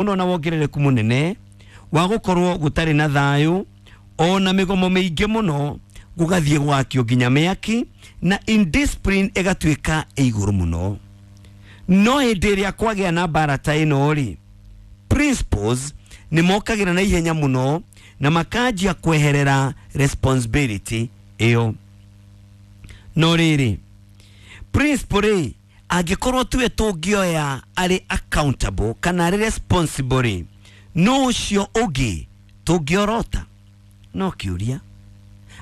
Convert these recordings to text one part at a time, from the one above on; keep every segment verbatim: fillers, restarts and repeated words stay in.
Mũno na wongerereku mũnene wa gũkorwo gũtarĩ na thayũ, ona mĩgomo mĩingĩ mũno, gũgathiĩ gwakio nginya mĩaki na indiscipline ĩgatuĩka ĩ igũrũ mũno. No hĩndĩ ĩrĩa kwagĩa na mbara ta ĩno rĩ, principals nĩ mokagĩra na ihenya mũno na makanjia kweherera responsibility ĩyo. No rĩrĩ, principal rĩ, angĩkorwo tuwe tũngĩoya arĩ accountable kana arĩ responsible rĩ, no ũcio ũngĩ tũngĩorota? No kĩũria.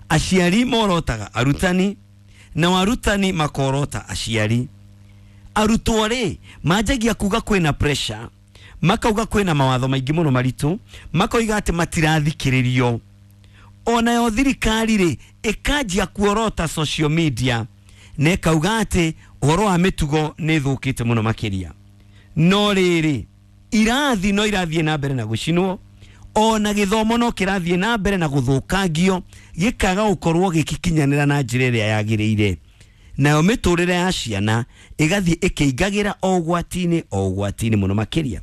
Aciari morotaga arutani, nao arutani makorota aciari. Arutwo rĩ, manjagia kuga kwĩna pressure, makauga kwĩna mawatho maingĩ mũno maritũ, makoiga atĩ matirathikĩrĩrio. Onayo thirikari rĩ, ĩkanjia kuorota social media na ĩkauga atĩ ũhoro wa mĩtugo nĩ ĩthũkĩte mũno makĩria. No rĩrĩ, irathi no irathiĩ na mbere na gũcinwo, ona gĩthomo no kĩrathiĩ na mbere na gũthũkangio, gĩkaga gũkorwo gĩgĩkinyanĩra na njĩra ĩrĩa yagĩrĩire. Nayo mĩtũrĩre ya ciana ĩgathiĩ ĩkĩingagĩra o ũgwati-inĩ o ũgwati-inĩ mũno makĩria.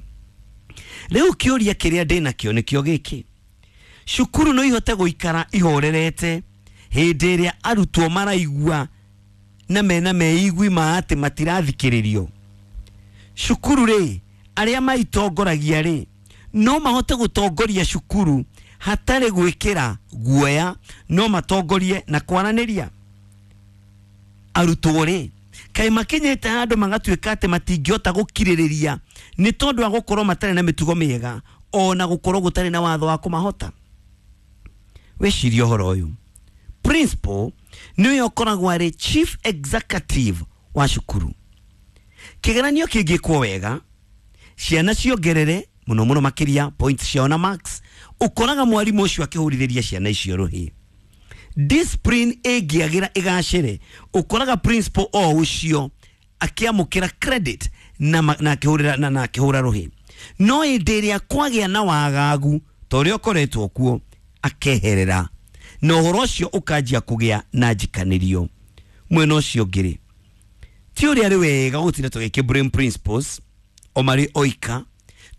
Rĩu kĩũria kĩrĩa ndĩnakĩo nĩkĩo gĩkĩ: cukuru no ihote gũikara ihorerete hĩndĩ ĩrĩa arutwo maraigua na mena meigwi ma atĩ matirathikĩrĩrio? Cukuru rĩ, arĩa maitongoragia rĩ, no mahote gũtongoria cukuru hatarĩ gwĩkĩra guoya? No matongorie na kwaranĩria? Arutwo rĩ, kaĩ makinyĩte handũ magatuĩka atĩ matingĩhota gũkirĩrĩria nĩ tondũ wa gũkorwo matarĩ na mĩtugo mĩega, ona gũkorwo gũtarĩ na watho wa kũmahota? Wĩcirie ũhoro ũyũ. Principal nĩwe ũkoragwo arĩ chief executive wa cukuru. Kĩgeranio kĩngĩkwo wega, ciana ciongerere mũno mũno makĩria points ciao na marks, ũkoraga mwarimũ ũcio akĩhũrithĩria ciana icio rũhĩ. Discipline ĩngĩagĩra ĩgacĩre, ũkoraga principal o ũcio akĩamũkĩra credit na, na akĩhũrĩra na, na akĩhũra rũhĩ. No hĩndĩ ĩrĩa kwagĩa na wagagu ta ũrĩa ũkoretwo kuo, akeherera na ũhoro ũcio ũkanjia kũgĩa na njikanĩrio. Mwena ũcio ũngĩ rĩ, ti ũrĩa arĩ wega gũtinda tũgĩkĩ blame principals o marĩ oika,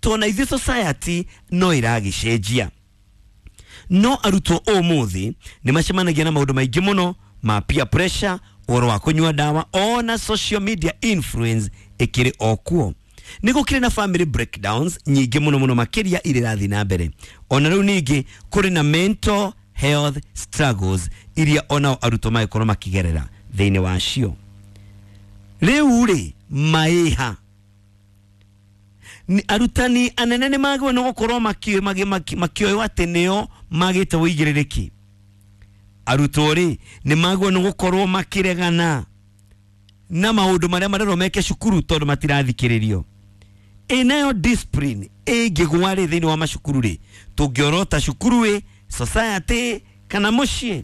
tondũ ithuĩ society no ĩragĩcenjia. No arutwo ũmũthĩ nĩ macemanagia na maũndũ maingĩ mũno ma peer pressure, ũhoro wa kũnyua ndawa, ona social media influence ĩkĩrĩ o kuo. Nĩ gũkĩrĩ na family breakdowns nyingĩ mũno mũno makĩria iria irathiĩ na mbere. Ona rĩu ningĩ kũrĩ na mental health struggles iria onao arutwo magĩkorwo makĩgerera thĩinĩ wacio. Rĩu rĩ, maĩha ni arutani anene nĩ magĩrĩirwo nĩ gũkorwo makĩoywo atĩ nĩo magĩte ũigĩrĩrĩki? Arutwo rĩ, nĩ magĩrĩirwo nĩ gũkorwo makĩregana na maũndũ marĩa marerwo meke cukuru tondũ matirathikĩrĩrio? Ĩ nayo discipline ĩngĩgwa rĩ thĩinĩ wa macukuru rĩ, tũngĩorota cukuru ĩ, society kana mũciĩ?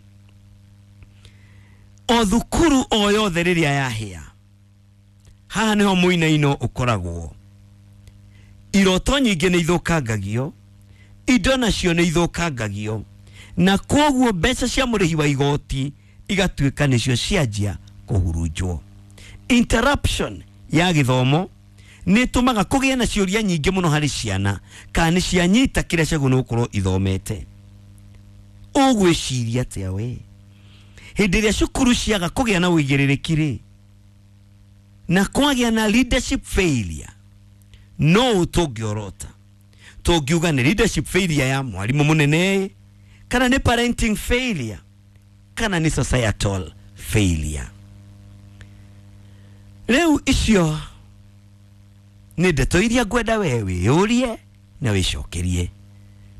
O thukuru o yothe rĩrĩa yahĩa, haha nĩho mũinaino ũkoragwo. Iroto nyingĩ nĩ ithũkangagio, indo nacio nĩ ithũkangagio, na koguo mbeca cia mũrĩhi wa igoti igatuĩka nĩcio cianjia kũhurunjwo. Interruption ya gĩthomo nĩ ĩtũmaga kũgĩe na ciũria nyingĩ mũno harĩ ciana, kana nĩ cianyita kĩrĩa ciagĩrĩirwo nĩ gũkorwo ithomete. Ũgwĩciria atĩa we hĩndĩ ĩrĩa cukuru ciaga kũgĩa na ũigĩrĩrĩki rĩ, na kwagĩa na leadership failure? No tũngĩorota tũngiuga nĩ leadership failure ya mwarimũ mũnene, kana nĩ parenting failure, kana nĩ societal failure? Rĩu icio nĩ ndeto iria ngwenda we wĩyũrie na wĩcokerie.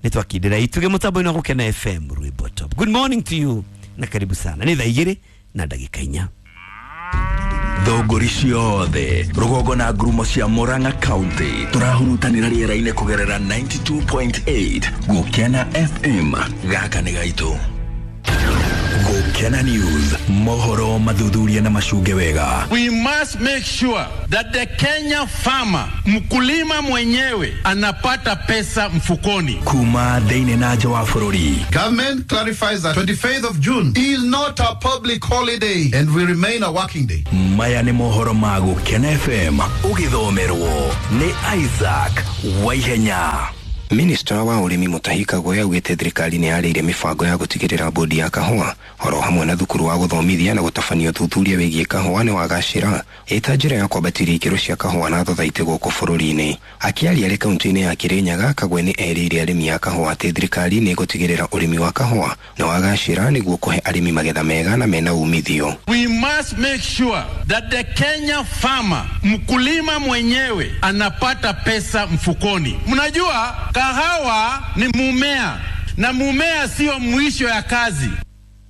Nĩ twakindĩra itugĩ mũtambo-inĩ wa Gũkena F M, Rwĩmbo Top. Good morning to you na karibu sana. Nĩ thaa igĩrĩ na ndagĩka inya. Thũngũri ciothe rũgongo na ngurumo cia Murang'a County, tũrahurutanĩra rĩera-inĩ kũgerera mĩrongo kenda na igĩrĩ turuma inyanya Gũkena F M. Gaka nĩ gaitũ. Gũkena. Gukena News, mohoro mathuthuria na macunge wega. We must make sure that the Kenya farmer, mkulima mwenyewe, anapata pesa mfukoni. Kuma thĩinĩ na nja wa bũrũri. Government clarifies that twenty-fifth of June is not a public holiday and will remain a working day. Maya nĩ mohoro ma Gukena F M ũgĩthomerwo nĩ Isaac Waihenya. Minister wa ũrĩmi Mutahi Kagwe augĩte thirikari nĩ yarĩire mĩbango ya gũtigĩrĩra bodi ya kahũa oro hamwe na thukuru wa gũthomithia na gũtabania ũthuthuria wĩgiĩ kahũa nĩ wagacĩra ĩta njĩra ya kwambatĩria ikĩro cia kahũa na thothaitĩ gũkũ bũrũri-inĩ. Akĩaria arĩ kaunti-inĩ ya Kirinyaga, Kagwe nĩ erĩire arĩmi a kahũa atĩ thirikari nĩ ĩgũtigĩrĩra ũrĩmi wa kahũa nĩ wagacĩra nĩguo kũhe arĩmi magetha mega na mena umithio. We must make sure that the Kenya farmer, mkulima mwenyewe, anapata pesa mfukoni. Mnajua kahawa ni mumea na mumea sio mwisho ya kazi.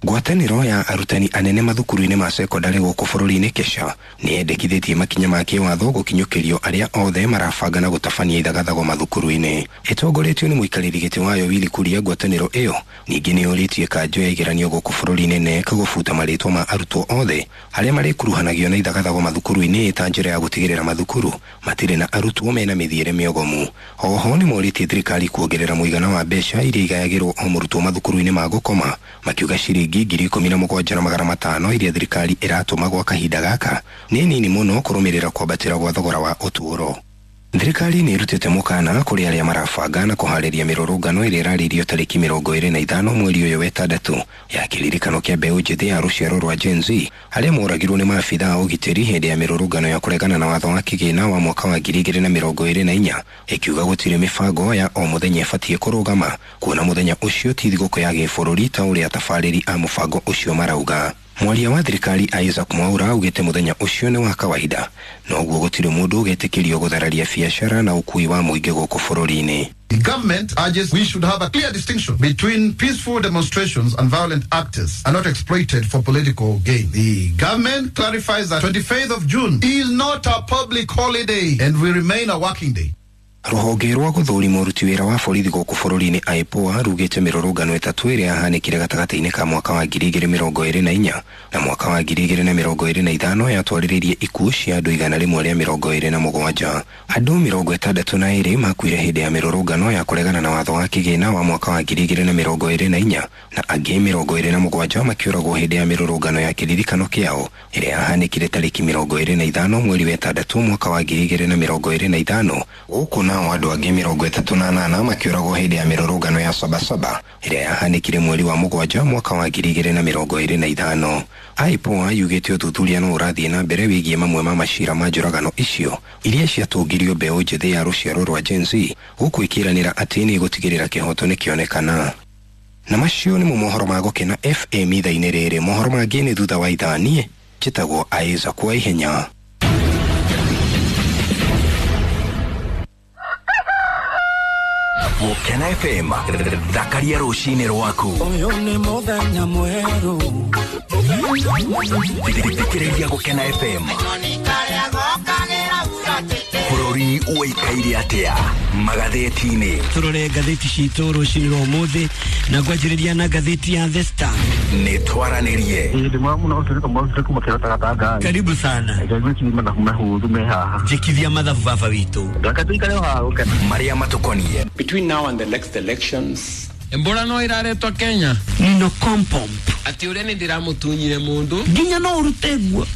Ngwatanĩro ya arutani anene mathukuru-inĩ ma sekondarĩ gũkũ bũrũri-inĩ KESHA nĩ yendekithĩtie makinya ma kĩwatho gũkinyũkĩrio arĩa othe marabanga na gũtabania ithagathago mathukuru-inĩ. Ĩtongoretio nĩ mũikarĩri gĩtĩ wayo Willy Kuria, ngwatanĩro ĩyo ningĩ nĩ yũrĩtie kanjũ ya igeranio gũkũ bũrũri-inĩ K N E C gũbuta marĩtwa ma arutwo othe arĩa marĩkuruhanagio na ithagathago mathukuru-inĩ ta njĩra ya gũtigĩrĩra mathukuru matirĩ na arutwo mena mĩthiĩre mĩogomu. Oho nĩ morĩtie thirikari kuongerera mũigana wa mbeca iria igayagĩrwo o mũrutwo mathukuru-inĩ ma gũkoma, makiuga ciringi ngiri ikũmi na mũgwanja na magana matano iria thirikari ĩratũma gwa kahinda gaka nĩ nini mũno kũrũmĩrĩra kwambatĩra gwa thogora wa ũtũũro. Thirikari nĩ ĩrutĩte mũkana kũrĩ arĩa marabanga na kũharĩria mĩrũrũngano ĩrĩa ĩrarĩirio tarĩki mĩrongo ĩrĩ na ithano mweri ũyũ wa ĩtandatũ ya kĩririkano kĩa mbeũ njĩthĩ ya rũciaro rwa Gen Z arĩa moragirwo nĩ maabitha a ũgitĩri hĩndĩ ya mĩrũrũngano ya kũregana na watho wa kĩgĩna wa mwaka wa ngiri igĩrĩ na mĩrongo ĩrĩ na inya, ĩkiuga gũtirĩ mĩbango ya o mũthenya ĩbatiĩ kũrũgama kuona mũthenya ũcio ti thigũkũ ya gĩbũrũri ta ũrĩa atabarĩri a mũbango ũcio marauga. Mwaria wa thirikari Isaac Mwaura augĩte mũthenya ũcio nĩ wa kawaida noguo gũtirĩ mũndũ ũgetĩkĩrio gũthararia biacara na ũkui wa mũingĩ gũkũ bũrũri-inĩ. The government urges we should have a clear distinction between peaceful demonstrations and violent actors are not exploited for political gain. The government clarifies that twenty-fifth of June is not a public holiday and will remain a working day. Rũhonge rwa gũthũrima ũruti wĩra wa borithi gũkũ bũrũri-inĩ I P O A rugĩte mĩrũrũngano ĩtatũ ĩrĩa yahanĩkire gatagatĩ-inĩ ka mwaka wa ngiri igĩrĩ mĩrongo ĩrĩ na inya na mwaka wa ngiri igĩrĩ na mĩrongo ĩrĩ na ithano yatwarĩrĩirie ikuũ cia andũ igana rĩmwe rĩa mĩrongo ĩrĩ na mũgwanja. Andũ mĩrongo ĩtandatũ na ĩrĩ makuire hĩndĩ ya mĩrũrũngano ya kũregana na watho wa kĩgĩna wa mwaka wa ngiri igĩrĩ na mĩrongo ĩrĩ na inya na angĩ mĩrongo ĩrĩ na mũgwanja makĩũragwo hĩndĩ ya mĩrũrũngano ya kĩririkano kĩao ĩrĩa yahanĩkire tarĩki mĩrongo ĩrĩ na ithano mweri wa ĩtandatũ mwaka wa ngiri igĩrĩ na mĩrongo ĩrĩ na ithano. Gũkũ nao andũ angĩ mĩrongo ĩtatũ na nana makĩũragwo hĩndĩ ya mĩrũrũngano ya Sabasaba ĩrĩa yahanĩkire mweri wa mũgwanja mwaka wa ngiri igĩrĩ na mĩrongo ĩrĩ na ithano. I P O A yugĩte ũthuthuria no ũrathiĩ na mbere wĩgiĩ mamwe ma macira ma njũragano icio iria ciatũngirio mbeũ njĩthĩ ya rũciaro rwa Gen Z, gũkũ ĩkĩranĩra atĩ nĩ ĩgũtigĩrĩra kĩhoto nĩkĩonekana. Na macio nĩmo mohoro ma Gũkena F M ithaa-inĩ rĩrĩ. Mohoro mangĩ nĩ thutha wa ithaa. Niĩ njĩtagwo Isaac Waihenya. Gũkena F M, thakaria rũcinĩ rwaku. Ũyũ nĩ mũthenya mwerũ. Thikĩrĩria Gũkena F M. Bũrũri ũikaire atĩa magathĩti-inĩ? Tũrore ngathĩti citũ rũcinĩ rwa ũmũthĩ na ngwanjĩrĩria na ngathĩti ya The Star. Nĩ twaranĩrie. Karibu sana. Njĩkithia mathabu baba witũ. Marĩa matũkoniĩ. Between now and the next elections, Embora no iraretwo Kenya. Nino kompomp. Ati ũrĩa nĩ ndĩramũtunyire mũndũ. Nginya no ũrute guo.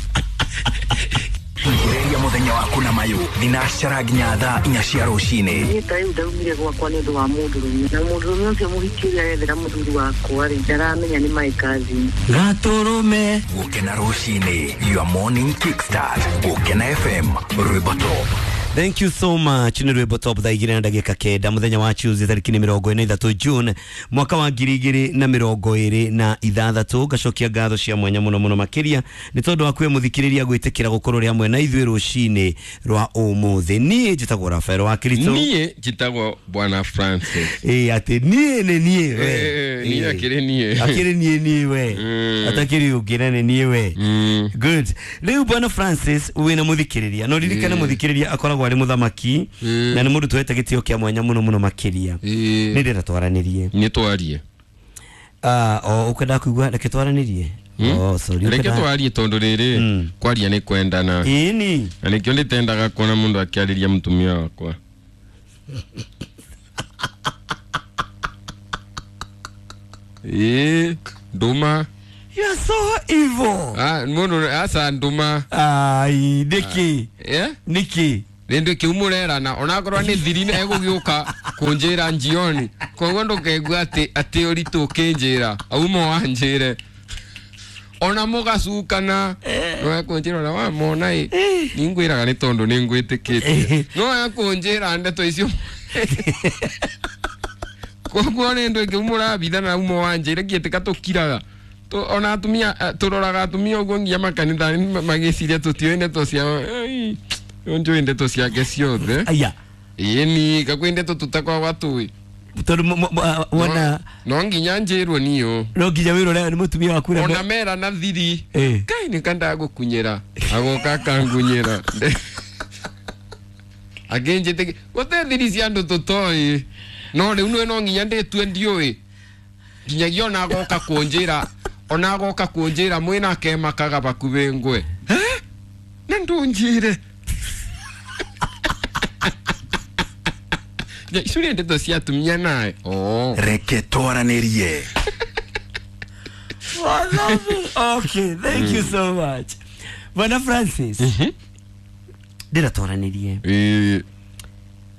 Ambĩrĩria mũthenya waku na mayũ thinacara nginya thaa inya cia rũcinĩ. Niĩ ta rĩu ndaumire gwakwa nĩ ũndũ wa mũndũrũme, na mũndũrũme ũcio mũhiki ũrĩa arethera mũthuri wakwa rĩ, ndaramenya nĩ my cousin. Gatũrũme. Gũkena rũcinĩ, your morning kickstart. Gũkena F M, rwĩmbo top. Thank you so much. Nĩ rwĩmbo top thaa igĩrĩ na ndagĩka kenda mũthenya wa Tuesday tarĩki nĩ mĩrongo ĩna ithatũ June mwaka wa ngiri igĩrĩ na mĩrongo ĩrĩ na ithathatũ. Ngacokia ngatho cia mwanya mũno mũno makĩria nĩ tondũ wa kwĩ mũthikĩrĩria gwĩtĩkĩra gũkorwo rĩ hamwe na ithuĩ rũcinĩ rwa ũmũthĩ. Niĩ njĩtagwo Rafael wa Kirito. Niĩ njĩtagwo Bwana Francis. Ĩ atĩ niĩ nĩ niĩ we. Niĩ akĩrĩ niĩ. Akĩrĩ niĩ niĩ we. Atakĩrĩ ũngĩ na nĩ niĩ we. Good. Rĩu Bwana Francis wĩna mũthikĩrĩria. No ririkane mũthikĩrĩria akoragwo arĩ mũthamaki na nĩ mũndũ twete gĩtĩo kĩa mwanya mũno mũno makĩria. Nĩ ndĩrenda twaranĩrie. Nĩ twarie. Ah, o ũkwenda kũigua reke twaranĩrie. Oh, sorry. Reke twarie tondu riri kwaria ni kwendana. Ĩni. Na nikio nditendaga kuona mundu akiariria mutumia wakwa. Ĩĩ, nduma. You are so evil. Ah, mundu asa nduma. Ai, niki. Eh? Niki. Rĩndĩ kĩu mũrerana onakorwo nĩ thiri egũgĩũka kũnjĩra njioni koguo ndũkeigua atĩ atĩ ũritũ ũkĩnjĩra auma wanjĩre ona mũgacukana no ekũnjĩra ona wamona ĩ ningwĩraga nĩ tondũ nĩ ngwĩtĩkĩtie no ekũnjĩra ndeto icio koguo nĩ ndũ kĩu mũrabithana auma wanjĩre ngĩtĩka tũkiraga ona atumia tũroraga atumia ũguo nginya makanitha magĩciria tũtiũĩ ndeto ciao onjo ndeto ciake ciothe. Aya. Ĩni kakwĩ ndeto tũtakoragwo tũĩ tondũ wona no nginya njĩrwo niyo no nginya wĩrwo nĩ mũtumia waku ona mera na thiri kai nĩ kandagũkunyĩra agoka akangunyĩra angĩnjĩtĩkia gũtĩ thiri cia andũ tũtoĩ no rĩu nĩ no nginya ndĩtue ndiũĩ nginyagia ona agoka kũnjĩra ona agoka kũnjĩra mwĩna akemakaga bakubĩ ngwe na ndũnjĩre. Ya icio nĩ ndeto cia atumia nae. Oh. Reke twaranĩrie. Okay, thank you so much. Bwana Francis. Ndĩra twaranĩrie. Eh.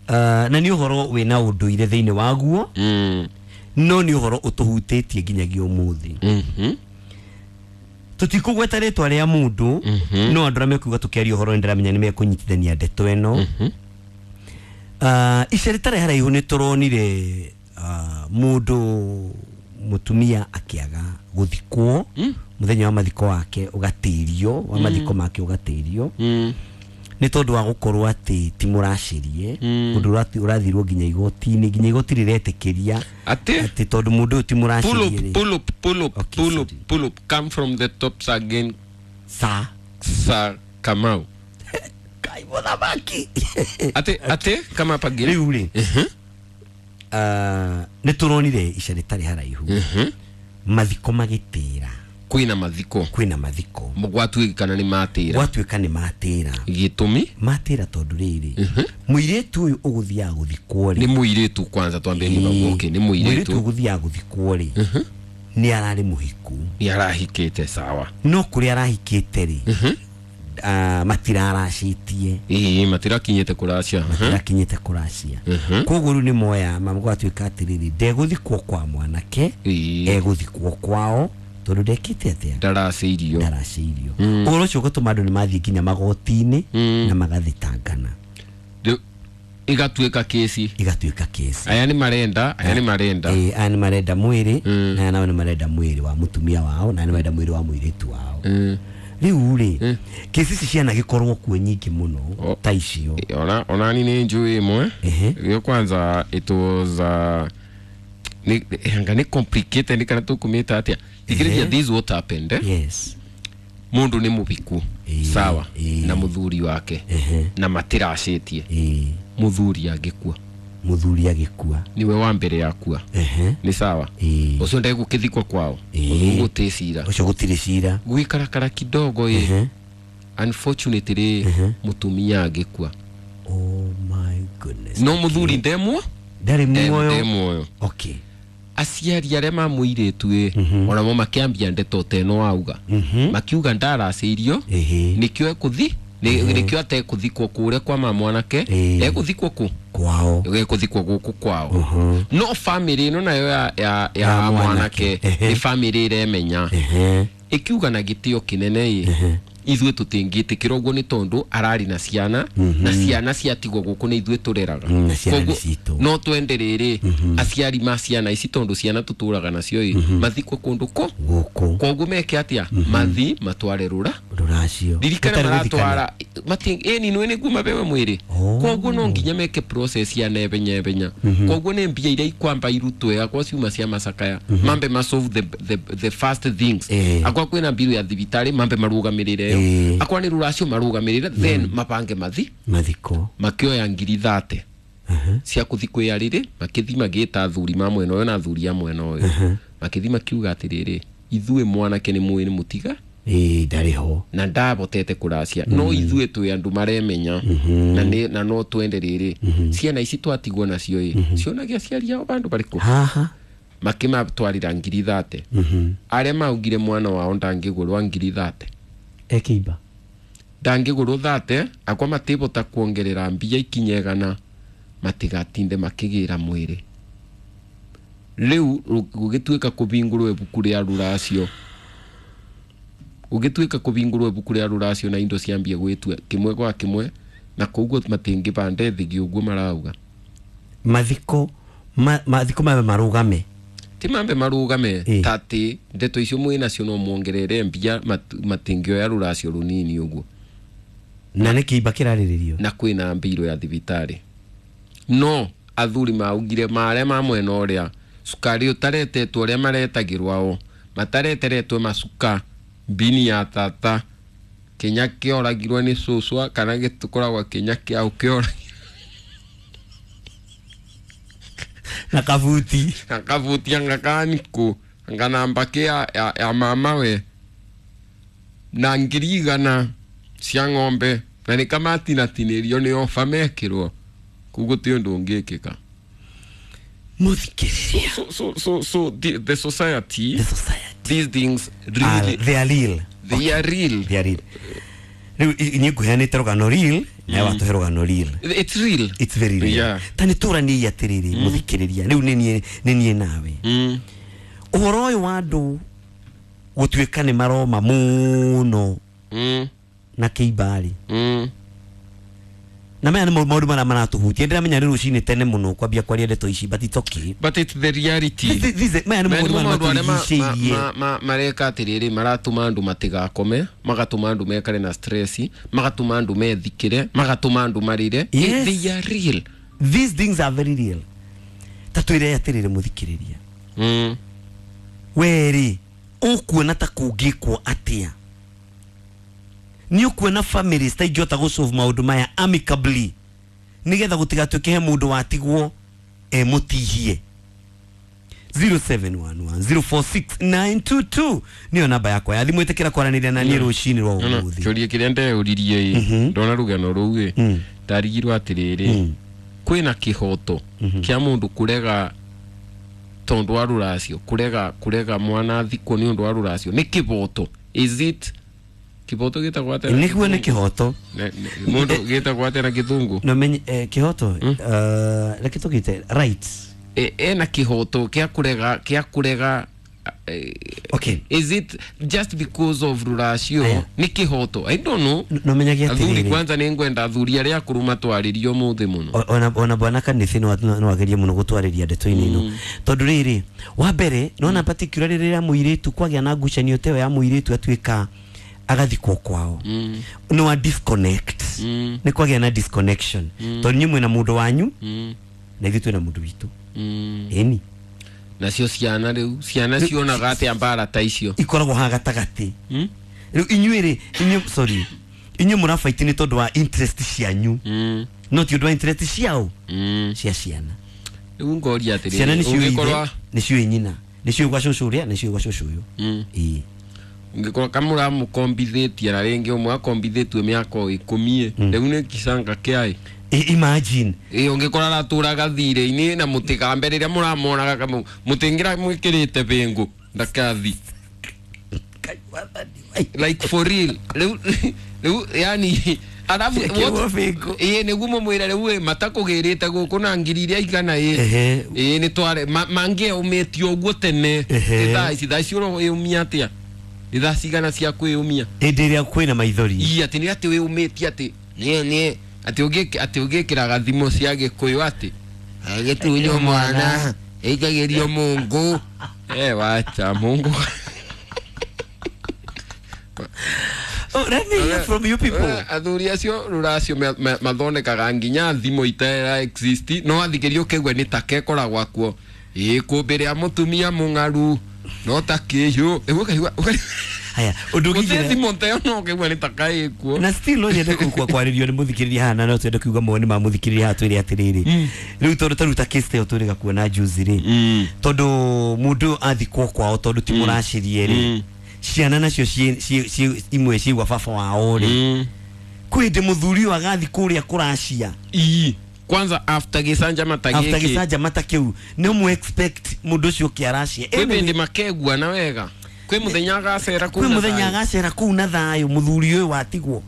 Uh, na nĩ ũhoro wĩna ũndũire thĩinĩ waguo. Mm. No nĩ ũhoro ũtũhutĩtie nginyagia ũmũthĩ. Mhm. Tũtikũgweta rĩtwa rĩa mũndũ, no andũ arĩa mekuga tũkĩaria ũhoro nĩ ndĩramenya nĩ mekũnyitithania ndeto ĩno. Uh, ica rĩtarĩ haraihu nĩ tũronire uh, mũndũ mũtumia akĩaga gũthikwo mm. mũthenya wa mathiko wake ũgatĩrio wa mathiko mm. make ũgatĩrio mm. nĩ tondũ wa gũkorwo atĩ ti mũracirie mm. ũndũ ũrathirwo nginya igoti-inĩ nginya igoti rĩretĩkĩria atĩ atĩ tondũ mũndũ ũyũ ti mũracirie. Pull up, pull up, okay, pull up, pull up, come from the tops again. Sa Sa Kamau. Kai mũthamaki. Ate ate kama pagire. Rĩu rĩ. Uh, nĩ tũronire ica rĩtarĩ haraihu. Mathiko magĩtĩra. Kwĩna mathiko. Kwĩna mathiko. Gwatuĩka kana nĩ matĩra. Gwatuĩka nĩ matĩra. Gĩtũmi? Matĩra tondũ rĩrĩ. Mũirĩtu ũyũ ũgũthiaga gũthikwo rĩ. Nĩ mũirĩtu kwanza twambe nĩ okay, nĩ mũirĩtu. Mũirĩtu ũgũthiaga gũthikwo rĩ. Nĩ ararĩ mũhiku. Nĩ arahikĩte sawa. No kũrĩa arahikĩte rĩ. Uh, matiraracĩtie. Ĩĩ matirakinyĩte kũracia. Matirakinyĩte kũracia. Koguo rĩu nĩ moya magwatuĩka atĩrĩrĩ ndegũthikwo kwa mwanake egũthikwo kwao tondũ ndekĩte atĩa ndaracĩirio ndaracĩirio. Ũhoro ũcio ũgatũma andũ nĩ mathiĩ nginya magoti-inĩ na magathitangana igatuĩka kesi igatuĩka kesi. Aya nĩ marenda aya nĩ marenda ĩĩ aya nĩ marenda mwĩrĩ na aya nao nĩ marenda mwĩrĩ wa mũtumia wao na aya nĩ marenda mwĩrĩ wa mũirĩtu wao. Rĩu rĩ kesi ici cianagĩkorwo kuo nyingĩ mũno ta icio. Ona ona ni nĩ njũĩ ĩmwe ĩyo kwanza it was uh, ni anga ni complicated ni kana tũkũmĩta atĩa thikĩrĩria this what happened eh? Yes. Mũndũ nĩ mũbiku sawa na mũthuri wake na matiracĩtie mũthuri angĩkua mũthuri agĩkua niwe wa mbere yakua nĩ sawa ũcio ndegũkĩthikwo kwao gũtĩ cira ũcio gũtirĩ cira gwĩkarakara kidogo ĩ unfortunately mũtumia angĩkua. Oh my goodness. No mũthuri ndemwo ndarĩ muoyo ndemwoyo. Okay. Aciari arĩa ma mũirĩtu ĩ onamo makĩambia ndeto ta ĩno wauga makiuga ndaracĩirio nĩkĩo ekũthi nĩkĩo atekũthikwo kũrĩa kwa ma mwanake egũthikwo kũ kwao egũthikwo gũkũ kwao no family ĩno nayo ya ya ya mwanake nĩ family ĩremenya ĩkiuga na gĩtĩo kĩnene ĩ ithuĩ tũtingĩtĩkĩra ũguo nĩ tondũ ararĩ na ciana na ciana ciatigwo gũkũ nĩ ithuĩ tũreraga no twende rĩrĩ aciari ma ciana ici tondũ ciana tũtũraga nacio ĩ mathikwo kũndũ kũ gũkũ koguo meke atĩa mathi matware rũra rũracio ririkana maratwara ĩni nĩ nĩguo mabewe mwĩrĩ koguo no nginya meke process ya nebenyebenya koguo nĩ mbia iria ikwamba irutwe akwa ciuma cia macakaya mambe ma solve the, the, the first things akwa kwĩna mbiru ya thibitarĩ mambe marũgamĩrĩre akwa nĩ rũracio marũgamĩrĩre then mapange mathi mathiko makĩoya ngiri thate cia kũthi kwĩarĩrĩ makĩthi magĩta athuri ma mwena ũyũ na athuri a mwena ũyũ makĩthi makiuga atĩrĩrĩ Ithuĩ mwanake nĩ mũĩ nĩ mũtiga ĩĩ ndarĩ ho na ndabotete kũracia mm. no ithuĩ twĩ andũ maremenya mm -hmm. na nĩ na no twende rĩrĩ mm -hmm. ciana ici twatigwo nacio ĩ mm -hmm. cionagia aciari ao bandũ barĩkũ haha makĩmatwarĩra ngiri thate mm -hmm. arĩa maugire mwana wao ndangĩgũrwa ngiri thate ekĩimba ndangĩgũrwo thate akwa matibota kuongerera mbia ikinyegana matigatinde makĩgĩra mwĩrĩ rĩu gũgĩtuĩka kũbingũrwo ibuku rĩa rũracio ũgĩtuĩka kũbingũrwo ibuku rĩa rũracio na indo ciambie gwĩtua kĩmwe gwa kĩmwe na koguo matingĩbande thigi ũguo marauga mathiko ma, mathiko mambe marũgame ti mambe marũgame e. Tati ndeto icio mwĩ nacio no muongerere mbia mat, matingĩoya rũracio rũnini ũguo na nĩ kĩimba kĩrarĩrĩrio na kwĩna mbirũ ya thibitarĩ no athuri maugire marĩa ma mwena ũrĩa cukari ũtaretetwo ũrĩa maretagĩrwo ao matareteretwo macuka mbini ya tata kinya kĩoragirwo nĩ cũcwa kana gĩtũkoragwo kinya kĩao kĩoragirwo na kabuti na kabuti anga kanikũ anga namba kĩ ya, ya, ya mama we na ngiri igana cia ng'ombe na nĩ kamatinatinĩrio nĩ oba mekĩrwo koguo ti ũndũ ũngĩkĩka mũthikĩrĩria so, so, so, so the, the society the society these things really are, they are real they okay. are real they are real rĩu niĩ ngũheanĩte rũgano real nawe watũhe rũgano real it's real it's very real yeah. ta nĩ tũraniei atĩrĩrĩ mm. mũthikĩrĩria rĩu nĩ niĩ nawe mm. ũhoro ũyũ wa andũ gũtuĩka nĩ maroma mũno mm. na kĩimba-rĩ mm. na maya nĩ maũndũ marĩa maratũhutia ndĩramenya nĩ rũcinĩ tene mũno kwambia kwaria ndeto ici but it's okay but it's the reality this, this, this, maya nĩ maũndũ marĩa matũrigicĩirie mareka atĩrĩrĩ maratũma andũ matigakome magatũma andũ mekare na stress magatũma andũ methikĩre magatũma andũ marĩre yes. They are real these things are very real ta twĩre atĩrĩrĩ mũthikĩrĩria mm. werĩ ũkuona ta kũngĩkwo atĩa nĩ ũkuona families ta ingĩhota gũsolve maũndũ maya amicably nĩgetha gũtigatuĩke he mũndũ watigwo e mũtihie zero seven one one zero four six nine two two nĩyo namba yakwa ya thimũ ĩtĩkĩra kwaranĩria na niĩ rũcinĩ rwa ũmũthĩ kĩũria kĩrĩa ndeyũririe ĩ ndona rũgano rũu ĩ ndarigirwo atĩrĩrĩ kwĩna kĩhoto kĩa mũndũ kũrega tondũ wa rũracio kũrega kũrega mwana athikwo nĩ ũndũ wa rũracio nĩ kĩboto is it kiboto gĩtagwo atĩa nĩguo nĩ kĩhoto mũndũ gĩtagwo atĩa na gĩthũngũ no menye eh, kĩhoto uh, reke tũgĩte rights ena kĩhoto kĩa kũrega kĩa kũrega okay is it just because of rũracio nĩ kĩhoto I don't know no menyagia athuri kwanza nĩ ngwenda athuri arĩa akũrũ matwarĩrio ũmũthĩ mũno ona ona bwana Kanithi no no agerie mũno gũtwarĩria ndeto-inĩ ĩno tondũ rĩrĩ wa mbere nona particularly rĩrĩa mũirĩtu kwagĩa na ngucanio ta ĩyo ya mũirĩtu atuĩka agathikwo kwao mm. no a disconnect mm. nĩ kwagĩa na disconnection mm. tondũ inyuĩ mwĩna mũndũ wanyu mm. na ithuĩ twĩna mũndũ witũ mm. ĩni nacio ciana rĩu ciana cionaga atĩa mbara ta icio ikoragwo haha gatagatĩ mm? rĩu inyuĩ rĩ inyuĩ sorry inyuĩ mũrabaiti nĩ tondũ wa interest cianyu mm. no ti ũndũ wa interest ciao mm. cia ciana rĩu ngoria atĩrĩrĩ ciana nĩciũĩ ithe ũngĩkorwo nĩciũĩ nyina nĩciũĩ gwa cũcũ ũrĩa nĩciũĩ gwa cũcũ ũyũ mm. ĩĩ ngĩkorwo kamũra mũkombithĩtie na rĩngĩ ũmwe akombithĩtue mĩaka o ikũmi rĩu nĩ kicanga kĩaĩ imagine ĩ ũngĩkora aratũraga thirĩ-inĩ na mũtigambe rĩrĩa mũramonaga mũtingĩra mwĩkĩrĩte bĩngũ ndakathi like for real rĩu rĩu yani arabu ĩ nĩguo mũmwĩre rĩu ĩ matakũgĩrĩte gũkũ na ngiri iria igana ĩ ĩ nĩ tware mangĩeũmĩtie ũguo tene thaa ici thaa ici ũreyũmia atĩa nĩ thaa cigana cia kwĩyũmia hĩndĩ ĩrĩa kwĩna maithori ii atĩ nĩ atĩ wĩyũmĩtie atĩ nĩ nĩ atĩ ũngĩ atĩ ũngĩkĩraga thimo cia gĩkũyũ atĩ agĩtunywo mwana ĩikagĩrio mungu eh wacha mungu Oh, let me hear from you people. Athuri acio rũracio mathondekaga nginya thimo itera exist no athikĩrio ũkĩigua nĩ ta kekoragwo kuo ĩ kũmbĩ rĩa mũtumia mũng'aru no ta kĩhiũ ũkaigua Haya undu gũtirĩ thimũ ta ĩyo no ũkĩigua nĩ ta kaĩ kuo. Na still no nyende kukua kwarĩrio nĩ mũthikĩrĩria haha, na no twende kuuga mawoni ma mũthikĩrĩria haha twĩre atĩrĩrĩ, rĩu tondũ ta rĩu ta case ta ĩyo twĩrĩga kuona juzi rĩ, tondũ mũndũ athikwo kwao tondũ ti mũracirie rĩ, ciana nacio imwe cigua baba wao rĩ, kwĩ hĩndĩ mũthuri ũyũ agathi kũrĩa kũracia. Ii kwanza after gĩcanjama ta gĩkĩ, after gĩcanjama ta kĩu nĩ mũ expect mũndũ ũcio ũkĩ aracia. Kwĩ hĩndĩ makegua na wega, kwĩ mũthenya agacera kũu, kwĩ mũthenya agacera kũu na thayũ mũthuri ũyũ watigwo.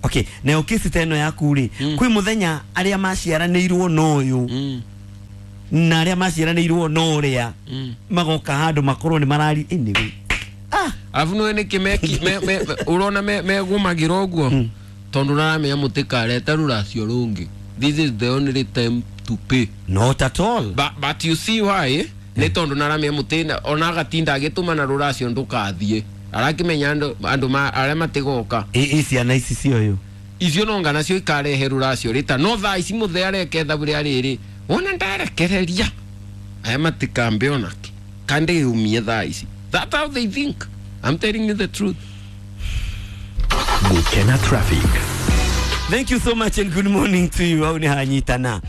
Okay, nayo kesi ta ĩno yaku rĩ, kwĩ mũthenya arĩa maciaranĩirwo na ũyũ na arĩa maciaranĩirwo na ũrĩa magoka handũ makorwo nĩ marari. Anyway, ah alafu nĩ nĩkĩ ũrona megũmagĩra ũguo tondũ ũraramenya mũtikareta rũracio rũngĩ. This is the only time to pay. Not at all. But, but you see why nĩ tondũ naramenya mũtĩ ona agatinda agĩtũma na rũracio ndũkathiĩ, arakĩmenya andũ andũ arĩa matigoka. Ĩ ciana ici cio icio no ngana cio ikarehe rũracio rĩta no thaa ici mũthee areke ithabu rĩa rĩrĩ wona ndarekereria aya matikambe onake kande yumie thaa ici. That's how they think. I'm telling you the truth. Gukena traffic. Thank you so much and good morning to you. Au ni hanyitana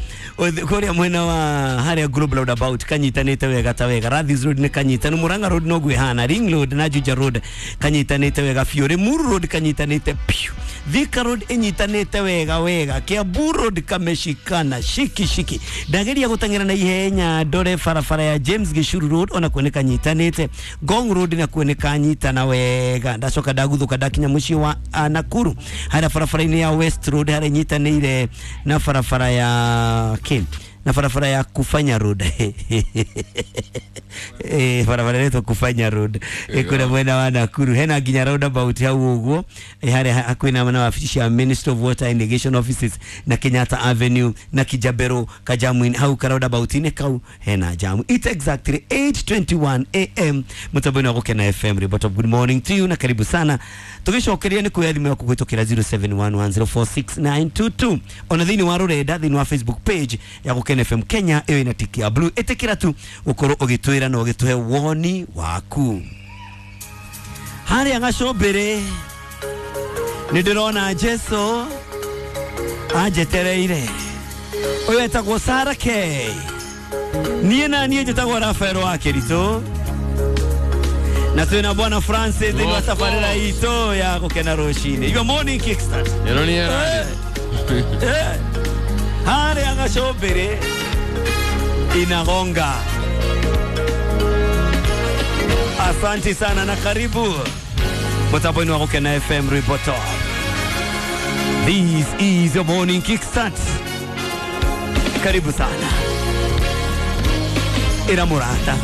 kuria mwena wa haria Global Roundabout kanyitanite wega ta wega. Rathis Road ni kanyitanu, Murang'a Road no gwihana, Ring Road na Juja Road kanyitanite wega biũ, Limuru Road kanyitanite piu, Thika Road inyitanite wega wega, Kiambu Road kameshikana shiki shiki. Ndageria gutang'era na ihenya ndore barabara ya James Gishuru Road ona kuo nĩ kanyitanĩte, Ngong Road na kuo nĩ kanyitana wega. Ndacoka ndaguthuka ndakinya mũciĩ wa Nakuru haria barabara-inĩ ya West Road haria inyitanĩire na barabara ya Kim na barabara ya Kufanya Road. Eh, barabara inaitwa Kufanya Road eh, kuna mwena wa Nakuru hena nginya roundabout hau uguo eh, haria hakuhi na wabici ya Ministry of Water and Irrigation Offices na Kenyatta Avenue na Kijabero Kajamu hau ka roundabout ini kau hena jamu. It's exactly eight twenty-one a m mutambo-inĩ wa Gukena F M. Report of good morning to you na karibu sana tugicokeria ni kuya thimu yaku gwitũkĩra zero seven one one zero four six nine two two ona thĩinĩ wa rũrenda thĩinĩ wa Facebook page ya Gukena F M Kenya ĩyo ĩna tiki ya blue. Ĩtĩkĩra tu ũkorwo ũgĩtwĩra na ũgĩtũhe woni waku. Harĩa gacũmbĩrĩ nĩ ndĩrona Jesu anjetereire. Ũyũ etagwo Sarah K. Niĩ na niĩ njĩtagwo Rafael wa Kĩritũ na twĩna Bwana Francis thĩinĩ wa tabarĩra itũ ya Gukena rũcinĩ. Your morning kickstart. Ĩno nĩ era. Harĩa gacũmbĩrĩ inagonga. Asante sana na karibu mutambo-inĩ wa Gukena F M Reporter. This is your morning kickstart. Karibu sana. Ira murata.